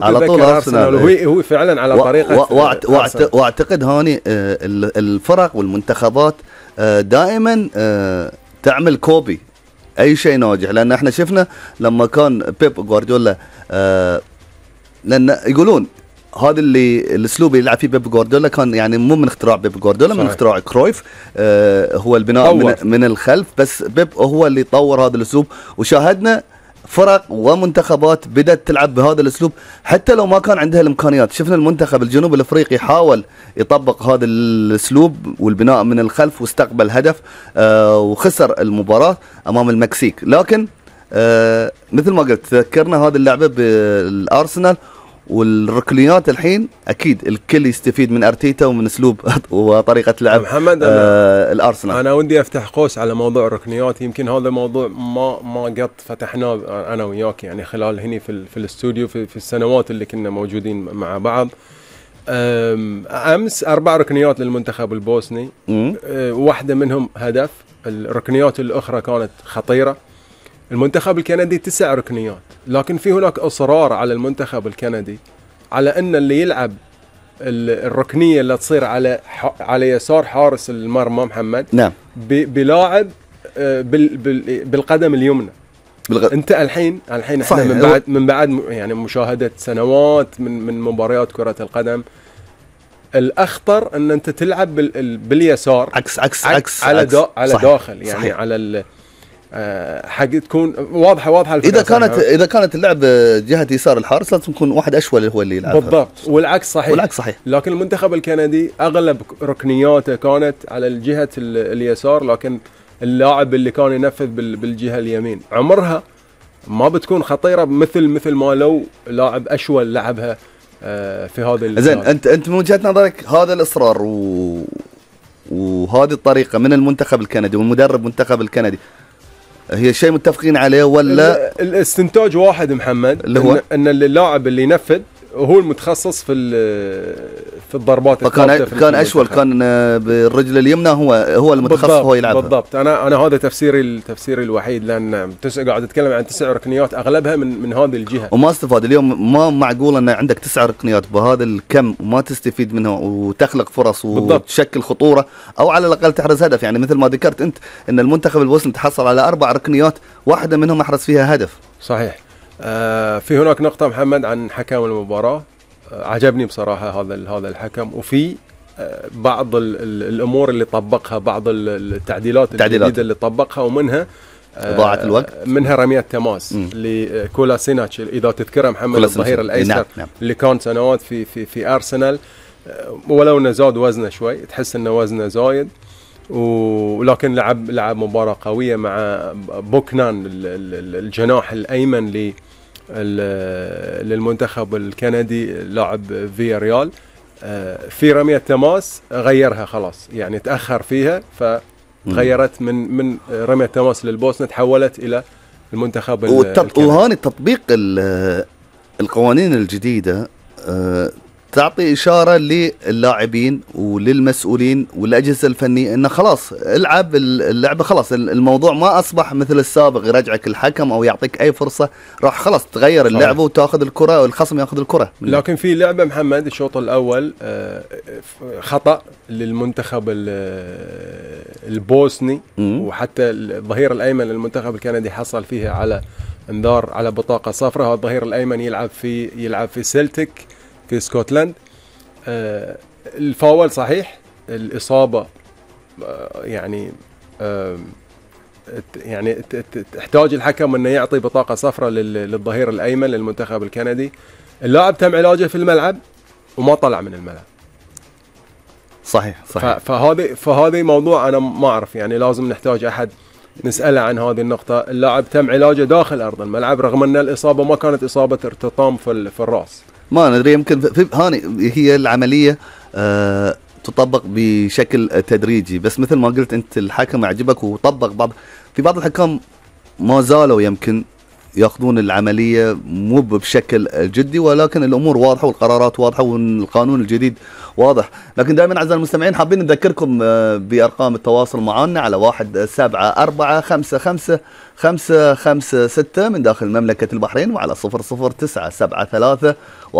على طول ارسنال. هو فعلا على طريقه واعتقد هاني الفرق والمنتخبات دائما تعمل كوبي اي شيء ناجح، لان احنا شفنا لما كان بيب جوارديولا لان يقولون هذا الاسلوب اللي يلعب فيه بيب جوارديولا كان يعني مو من اختراع بيب جوارديولا، من اختراع كرويف. هو البناء من الخلف، بس بيب هو اللي طور هذا الاسلوب، وشاهدنا فرق ومنتخبات بدأت تلعب بهذا الاسلوب حتى لو ما كان عندها الامكانيات. شفنا المنتخب الجنوب الافريقي حاول يطبق هذا الاسلوب والبناء من الخلف واستقبل هدف وخسر المباراة امام المكسيك. لكن مثل ما قلت ذكرنا هذه اللعبة بالارسنال والركنيات. الحين اكيد الكل يستفيد من ارتيتا ومن اسلوب وطريقه لعب محمد الارسنال. انا ودي افتح قوس على موضوع الركنيات، يمكن هذا موضوع ما قد فتحناه انا وياك يعني خلال هني في الاستوديو في السنوات اللي كنا موجودين مع بعض. امس 4 ركنيات للمنتخب البوسني، واحده منهم هدف، الركنيات الاخرى كانت خطيره. المنتخب الكندي 9 ركنيات، لكن في هناك اصرار على المنتخب الكندي على ان اللي يلعب الركنيه اللي تصير على يسار حارس المرمى محمد، نعم، بلاعب بالقدم اليمنى. انت الحين احنا من بعد يعني مشاهده سنوات من مباريات كره القدم، الاخطر ان انت تلعب باليسار عكس على داخل يعني صحيح. على حق تكون واضحه اذا كانت اللعب جهه يسار الحارس لازم يكون واحد اشول هو اللي يلعب بالضبط، والعكس صحيح. لكن المنتخب الكندي اغلب ركنياته كانت على الجهه اليسار، لكن اللاعب اللي كان ينفذ بالجهه اليمين عمرها ما بتكون خطيره مثل ما لو لاعب اشول لعبها في هذا زين. انت من وجهه نظرك هذا الاصرار وهذه الطريقه من المنتخب الكندي والمدرب المنتخب الكندي هي شيء متفقين عليه ولا الاستنتاج واحد محمد، اللي هو ان اللاعب اللي ينفذ هو المتخصص في الضربات الثابته، كان اشول كان بالرجل اليمنى هو المتخصص هو يلعبها بالضبط. انا هذا تفسيري الوحيد، لان قاعد اتكلم عن 9 ركنيات اغلبها من هذه الجهه وما استفاد. اليوم ما معقول ان عندك 9 ركنيات بهذا الكم وما تستفيد منها وتخلق فرص وتشكل خطوره او على الاقل تحرز هدف. يعني مثل ما ذكرت انت ان المنتخب البوسني تحصل على 4 ركنيات، واحده منهم احرز فيها هدف. صحيح. في هناك نقطة محمد عن حكم المباراة، عجبني بصراحة هذا الحكم، وفي بعض الأمور اللي طبقها، بعض التعديلات الجديدة اللي طبقها، ومنها إضاعة الوقت، منها رمية تماس لكولاسيناتش إذا تذكره محمد، الظهير الأيسر نعم. اللي كان سنوات في أرسنال، ولو إنه زاد وزنه شوي، تحس إنه وزنه زايد، ولكن لعب مباراة قوية مع بوكنان الجناح الأيمن للمنتخب الكندي، لاعب فيا ريال. في رمية تماس غيرها خلاص، يعني تأخر فيها فتغيرت من رمية تماس للبوسنة، تحولت إلى المنتخب الكندي. وهاني تطبيق القوانين الجديدة تعطي إشارة للاعبين وللمسؤولين والأجهزة الفنية إنه خلاص العب اللعبة، خلاص الموضوع ما أصبح مثل السابق يرجعك الحكم أو يعطيك أي فرصة، راح خلاص تغير اللعبة وتأخذ الكرة والخصم يأخذ الكرة. لكن في لعبة محمد الشوط الأول خطأ للمنتخب البوسني، وحتى الظهير الأيمن للمنتخب الكندي حصل فيها على انذار على بطاقة صفراء. الظهير الأيمن يلعب في سيلتيك في اسكتلند. الفاول صحيح، الإصابة يعني تحتاج الحكم انه يعطي بطاقة صفراء للظهير الأيمن للمنتخب الكندي. اللاعب تم علاجه في الملعب وما طلع من الملعب. صحيح. فهذا موضوع انا ما اعرف، يعني لازم نحتاج احد نسأله عن هذه النقطة. اللاعب تم علاجه داخل أرض الملعب رغم أن الإصابة ما كانت إصابة ارتطام في الرأس. ما ندري، يمكن هاني هي العملية تطبق بشكل تدريجي، بس مثل ما قلت أنت الحكم عجبك وطبق بعض الحكام ما زالوا يمكن ياخذون العمليه مو بشكل جدي، ولكن الامور واضحه والقرارات واضحه والقانون الجديد واضح. لكن دائما اعزائي المستمعين حابين نذكركم بارقام التواصل معنا على 174555556 من داخل مملكه البحرين، وعلى 00973